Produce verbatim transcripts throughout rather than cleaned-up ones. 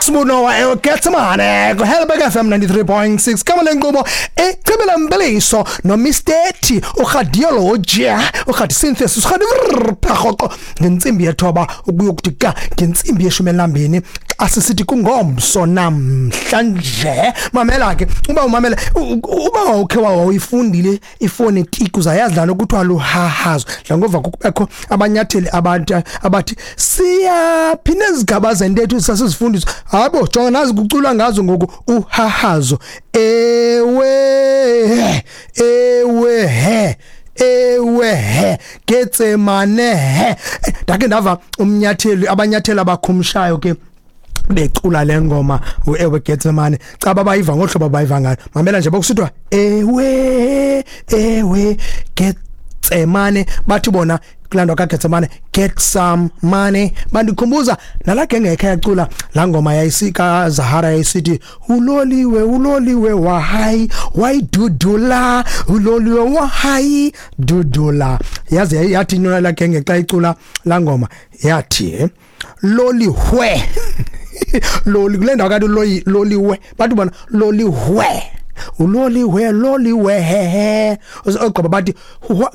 Sibunowa eGetsemane ku Helberg F M ninety-three point six kama lenkqubo echibela mbeliso no Mister T uradiology uradi synthesis uradi ngentsimbi yethoba ukuyokuthi ka ngentsimbi yeshumi elambini asisithi kungomso namhlanje. Mamela ke uba umamela uba ukhe wawuyifundile ifonetiki uzayazi lana kuthiwa luhahazo ngova kubekho abanyatheli abantu abathi siyaphi nezigaba zentetho sasizifundiswa. Hayibo jonga nazi kuculwa ngazo ngoku uhahazo. Ewe ewe he ewe he Getsemane he. Ndake ndava umnyatheli abanyatheli abakhumshayo ke becula lengoma uewe Getsemane caba bayiva ngohlobo bayiva ngayo. Mamela nje bokusithwa ewe ewe Getsemane bathi bona kulandwa kaGetsemane get some money. Bandikhumbuza nala genge ekhaya yacula la ngoma yayisika Zahara yayisithi uloliwe uloliwe wahai wayidudula uloliwe wahai dudula. Yazi yathi inona la genge xa icula la ngoma yathi lolihwe loli kule ndawo kanti loli loliwe bathi bona lolihwe uloliwe loliwe he he ogqoba bathi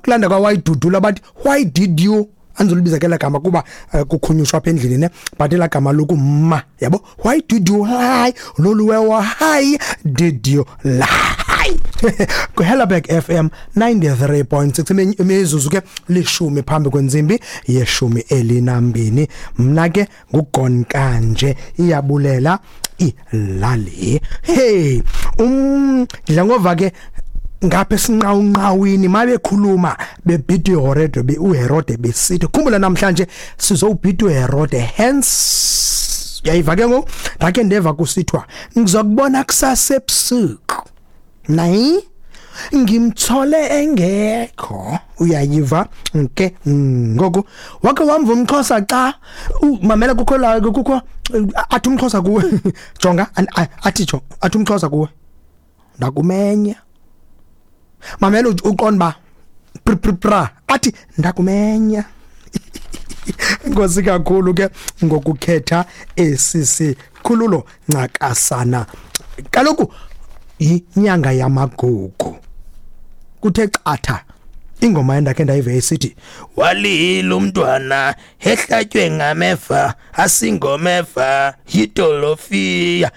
kulanda kwa wayidudula bathi why did you anzolibiza ke la gama kuba kukhunyushwa apha endlini ne but la gama lokumma yabo why did you lie loliwe why did you lie. Ku Helberg F M ninety-three point six imizuzu ke lishumi phambi kwenzimbi yeshumi elinambini. Mna ke nguGon kanje iyabulela ilali. Hey um ndingova ke ngapha esinqawunqawini mabekhuluma bebhidi uHerode be uHerode besithi khumbula namhlanje sizowubhidi uHerode hence uyayiva ke ngoku ndake ndeva kusithwa ngizokubona kusasa ebusuku nayi ngimthole engekho. Uyayiva ke ngoku wake wamva umXhosa xa mamela kukho la kukho athi umXhosa kuwe jonga athi jo athi umXhosa kuwe ndakumenya mamela uqonda ba pra athi ndakumenya. Inkosi kakhulu ke ngokukhetha esisikhululo ncakasana. Kaloku inyanga yamagugu kuthe qatha ingoma endakhe ndayive isithi walila umntwana ehlatywe ngameva asingomeva yidolofiya.